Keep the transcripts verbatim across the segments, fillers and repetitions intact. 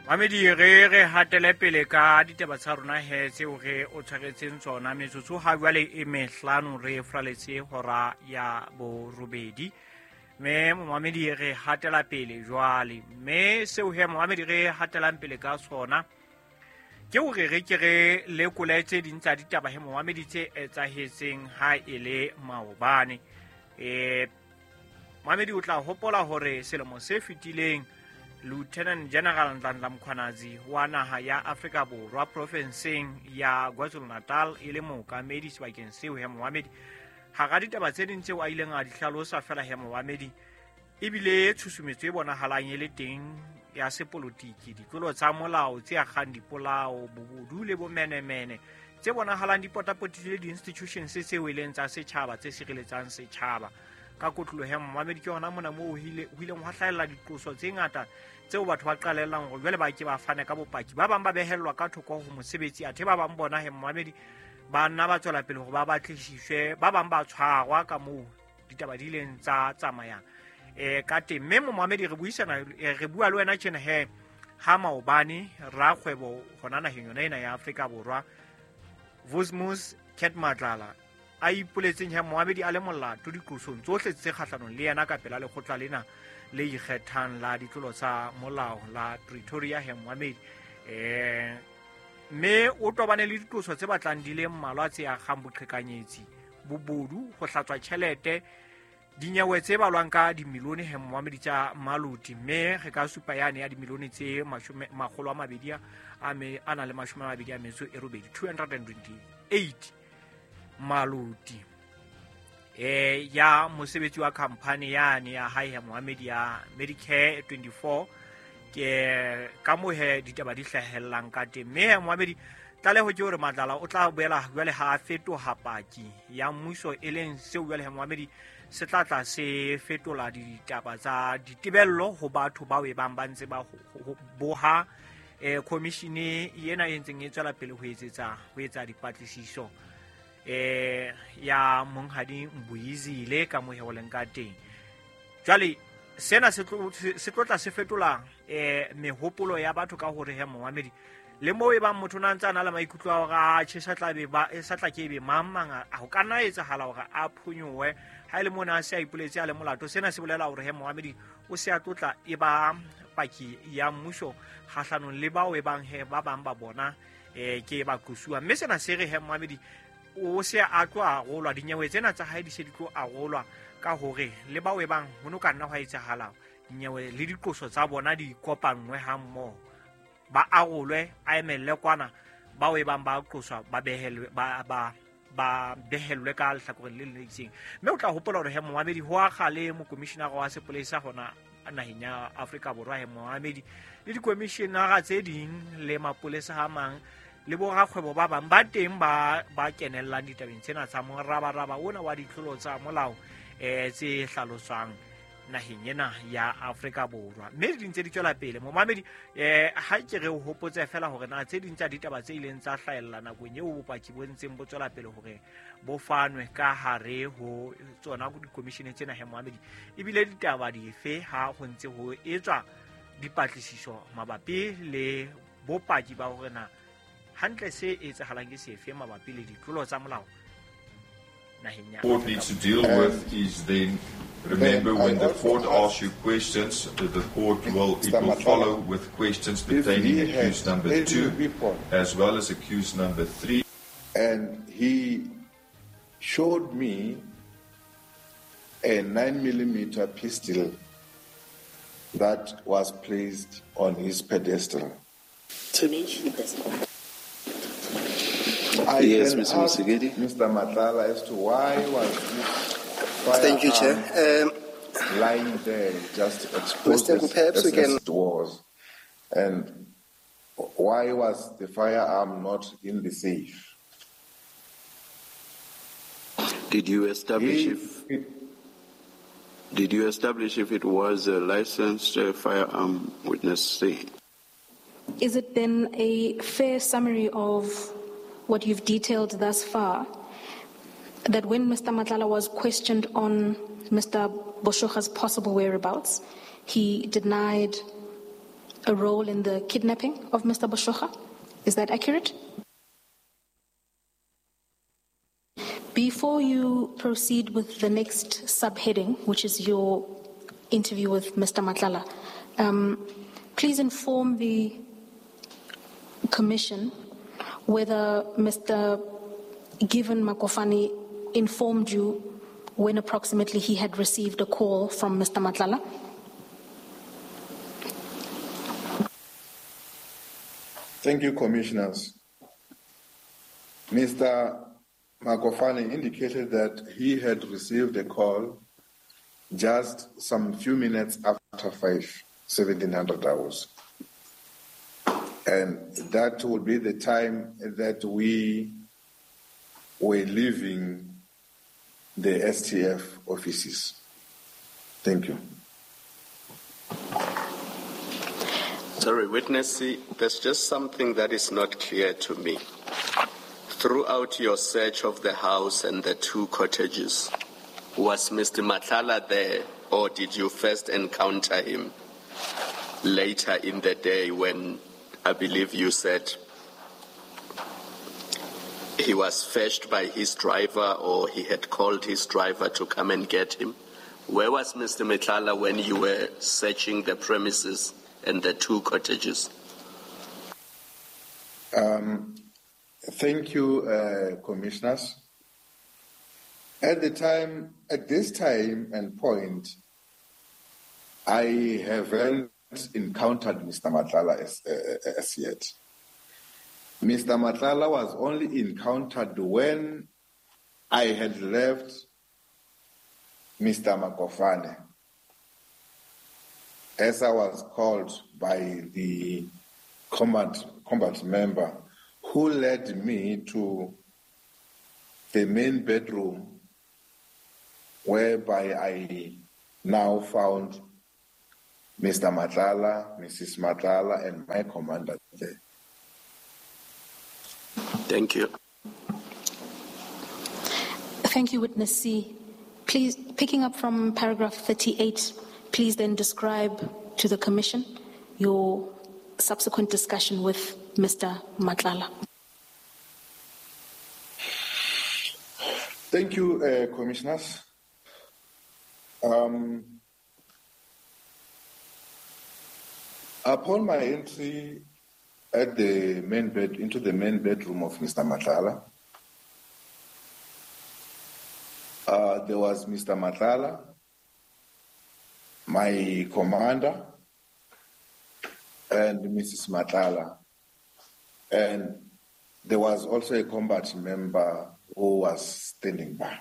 Mamedi re re hatele pele ka ditaba tsa rona he tseo re o tshwaretseng tsona metsotso ha jwale e mehlano re fraletse hora ya borobedi mme momamedi re hatela pele jwale mme seo he momamedi re hatelang pele ka sona ke hore re ke re lekole tse ding tsa ditaba he momamedi tse etsahetseng ha e le maobane. Eh momamedi o tla hopola hore selemo se fetileng Lieutenant General Nhlanhla Mkhwanazi wa naha ya Afrika Borwa profenseng ya KwaZulu-Natal e le mookamedi sebakeng seo he momamedi hara ditaba tse ding tseo a ileng a di hlalosa fela he momamedi ebile tshusumetso e bonahalang e le teng ya sepolotiki ditlolo tsa molao tse akgang dipolao bobodu le bomenemene tse bonahalang di potapotile di-institutions tseo e leng tsa setjhaba tse sireletsang setjhaba ka kotloloho ya momamedi. Ke hona mona moo ho ileng hwa hlahella diqoso tse ngata tseo batho ba qalellang hore jwale ba ke ba fane ka bopaki, ba bang ba behellwa ka thoko ho mosebetsi athe ba bang bona he momamedi ba nna ba tswela pele hore ba batlisiswe, ba bang ba tshwarwa ka moo ditaba di ileng tsa tsamayang eh ka teng. Mme momamedi re buisana re bua le wena tjena he ha maobane rakgwebo hona naheng yona ena ya Afrika Borwa Vusimuzi Cat Matlala a ipoletseng he momamedi a le molato diqosong tsohle tse kgahlanong le yena ka pela lekgotla lena le ikgethang la ditlolo tsa molao la Pretoria he momamedi eh mme o tobane le diqoso tse batlang di le mmalwa tse akgang boqhekanyetsi, bobodu, ho hlatswa tjhelete, dinyewe tse balwang ka dimilione he momamedi tsa maluti mme re ka supa yane ya dimilione tse mashome makgolo a mabedi a me a na le mashome a mabedi a metso e robedi two hundred and twenty-eight maluti eh ya mosebetsi wa company yane ya hae ya Mohammed ya Medicare twenty-four ke ka mohe ditaba di hlahellang ka teng. Mme Mohammed tlaleho ke hore Matlala o tla boela jwale ha a fetoha paki ya mmuso e leng seo jwale Mohammed se tla tla se fetola ditaba tsa ditebello ho batho bao e bang ba ntse ba boha eh commission ena e ntseng e tswela pele ho etsetsa ho etsa dipatlisiso eh ya monghadi Mbuyizile ka mohe o leng ka teng. Jwale sena se tlo se tlo tla se fetola eh mehopolo ya batho ka hore he momamedi le moo e bang motho na ntse a na le maikutlo a hore a tjhe sa tla be ba sa tla ke be mang mang a ho ka nna etsahala hore a phonyowe ha ile mona a se a ipoletse a le molato. Sena se bolela hore he momamedi o se a tlotla e ba paki ya mmuso kgahlanong le bao e bang he ba bang ba bona eh ke ba qosuwa. Mme sena se re he momamedi o se a tlo arolwa dinyewe tsena tsa hae di se di tlo arolwa ka hore le bao e bang ho no ka nna hwa etsahala dinyewe le diqoso tsa bona di kopanngwe ha mmoho ba arolwe a emelle kwana bao e bang ba qoswa ba behelwe ba ba ba behelwe ka lehlakoreng le le itseng. Mme o tla hopola hore he momamedi ho akga le mokomishinara wa sepolesa hona naheng ya Afrika Borwa he momamedi le dikomishinara tse ding le mapolesa a mang le borakgwebo ba bang ba teng ba ba kenellang ditabeng tsena tsa morabaraba ona wa ditlolo tsa molao eh tse hlaloswang naheng ena ya Afrika Borwa. Mme di ntse di tswela pele momamedi eh ha ke re o hopotse fela hore na tse ding tsa ditaba tse ileng tsa hlahella nakong eo bopaki bo ntseng bo tswela pele hore bo fanwe ka hare ho tsona di-commission tsena he momamedi ebile ditaba dife ha ho ntse ho etswa dipatlisiso mabapi le bopaki ba hore na hantle se etsahalang ke sefe mabapi le ditlolo tsa molao naheng ya court needs to deal with is then remember when the court asks you questions, the court will it will follow with questions pertaining accused number two as well as accused number three. And he showed me a nine millimeter pistol that was placed on his pedestal. To mention this. I yes, Mister Musigedi. Mister Matlala as to why was this Thank you, Chair. Um, lying there, just exposed Mister as, as, as it was. And why was the firearm not in the safe? Did you establish he, if it, did you establish if it was a licensed uh, firearm, witness C? Is it then a fair summary of what you've detailed thus far, that when Mister Matlala was questioned on Mister Boshoga's possible whereabouts, he denied a role in the kidnapping of Mister Boshoga. Is that accurate? Before you proceed with the next subheading, which is your interview with Mister Matlala, um, please inform the Commission whether Mister Given Makofane informed you when approximately he had received a call from Mister Matlala. Thank you, Commissioners. Mister Makofane indicated that he had received a call just some few minutes after five, seventeen hundred hours. And that would be the time that we were leaving the S T F offices. Thank you. Sorry, witness, there's just something that is not clear to me. Throughout your search of the house and the two cottages, was Mister Matlala there, or did you first encounter him later in the day when I believe you said he was fetched by his driver, or he had called his driver to come and get him? Where was Mister Matlala when you were searching the premises and the two cottages? Um, thank you, uh, Commissioners. At the time, at this time and point, I haven't encountered Mister Matlala as, uh, as yet. Mister Matlala was only encountered when I had left Mister Makofane, as I was called by the combat, combat member who led me to the main bedroom, whereby I now found Mister Matlala, Missus Matlala, and my commander there. Thank you. Thank you, Witness C. Please, picking up from paragraph thirty-eight, please then describe to the Commission your subsequent discussion with Mister Matlala. Thank you, uh, Commissioners. Um, upon my entry at the main bed, into the main bedroom of Mister Matlala, uh, there was Mister Matlala, my commander, and Missus Matlala. And there was also a combat member who was standing by.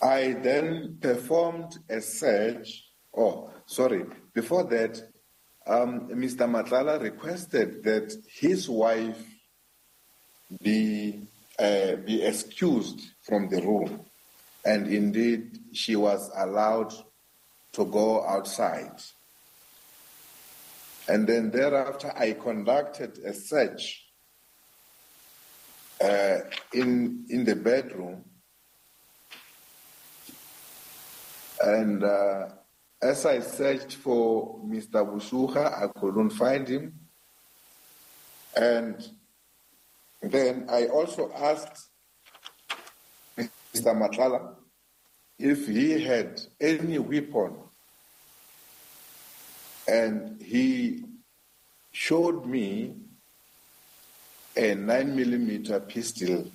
I then performed a search. Oh, sorry. Before that, um, Mister Matlala requested that his wife be, uh, be excused from the room. And indeed, she was allowed to go outside. And then thereafter, I conducted a search, uh, in, in the bedroom. And, uh, as I searched for Mister Boshoga, I couldn't find him. And then I also asked Mister Matlala if he had any weapon. And he showed me a nine millimeter pistol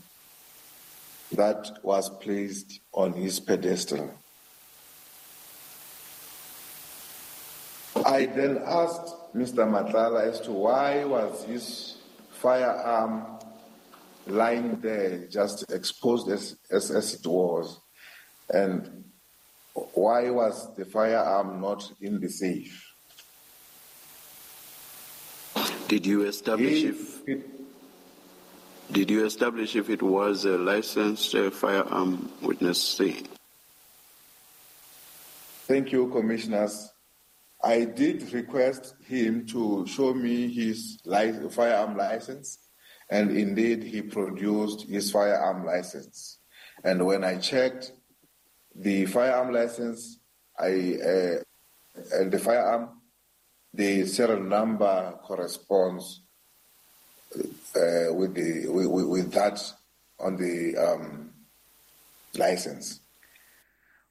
that was placed on his pedestal. I then asked Mister Matlala as to why was his firearm lying there, just exposed as, as, as it was, and why was the firearm not in the safe? Did you establish He, if it, did you establish if it was a licensed, uh, firearm, Witness C? Thank you, Commissioners. I did request him to show me his li- firearm license, and indeed he produced his firearm license. And when I checked the firearm license, I uh, and the firearm, the serial number corresponds uh, with the with, with that on the um, license.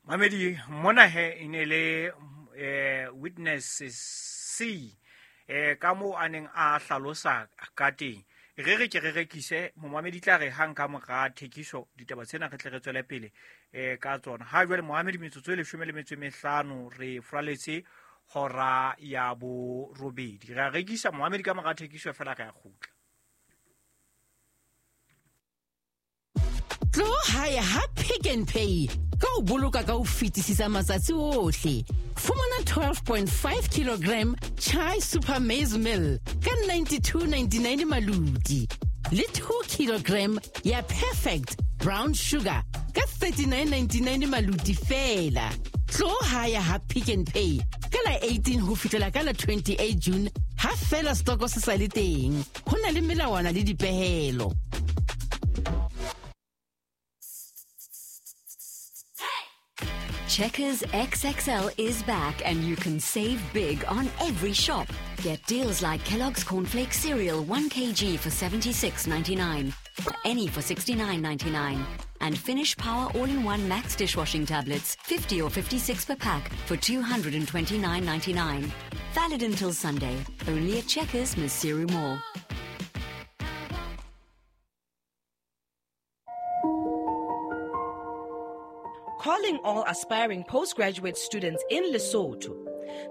Mamedi mona he e ne le eh, witness C eh, ka moo a neng a hlalosa ka teng. Re re ke re rekise momamedi tla re hang ka mora thekiso ditaba tsena re tle re tswele pele eh ka tsona. Ha jwale momamedi metsotso e leshome le metso e mehlano re fraletse hora ya borobedi. Re a rekisa momamedi ka mora thekiso fela re a kgutla. Tlo hae ha Pick n Pay ka o boloka ka ho fetisisa matsatsi ohle. Fumana twelve point five kilogram Chai Super Maize Meal ka ninety-two ninety-nine maluti. Le two kilogram ya Perfect Brown Sugar ka thirty-nine ninety-nine maluti fela. Tlo hae ha Pick n Pay ka la eighteen ho fihlela ka la twenty-eight June ha fela stoko se sa le teng. Ho na le melawana le dipehelo. Checkers X X L is back and you can save big on every shop. Get deals like Kellogg's Cornflakes Cereal one kilogram for seventy-six ninety-nine, any for sixty-nine ninety-nine, and Finish Power All-in-One Max Dishwashing Tablets, fifty or fifty-six per pack for two hundred twenty-nine ninety-nine. Valid until Sunday, only at Checkers, Maseru Mall. Calling all aspiring postgraduate students in Lesotho.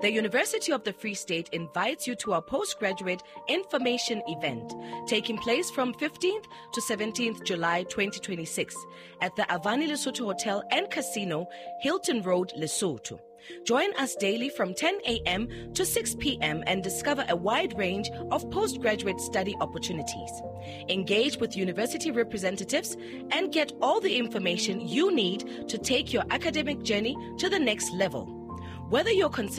The University of the Free State invites you to our postgraduate information event taking place from fifteenth to seventeenth July twenty twenty-six at the Avani Lesotho Hotel and Casino, Hilton Road, Lesotho. Join us daily from ten a.m. to six p.m. and discover a wide range of postgraduate study opportunities. Engage with university representatives and get all the information you need to take your academic journey to the next level. Whether you're considering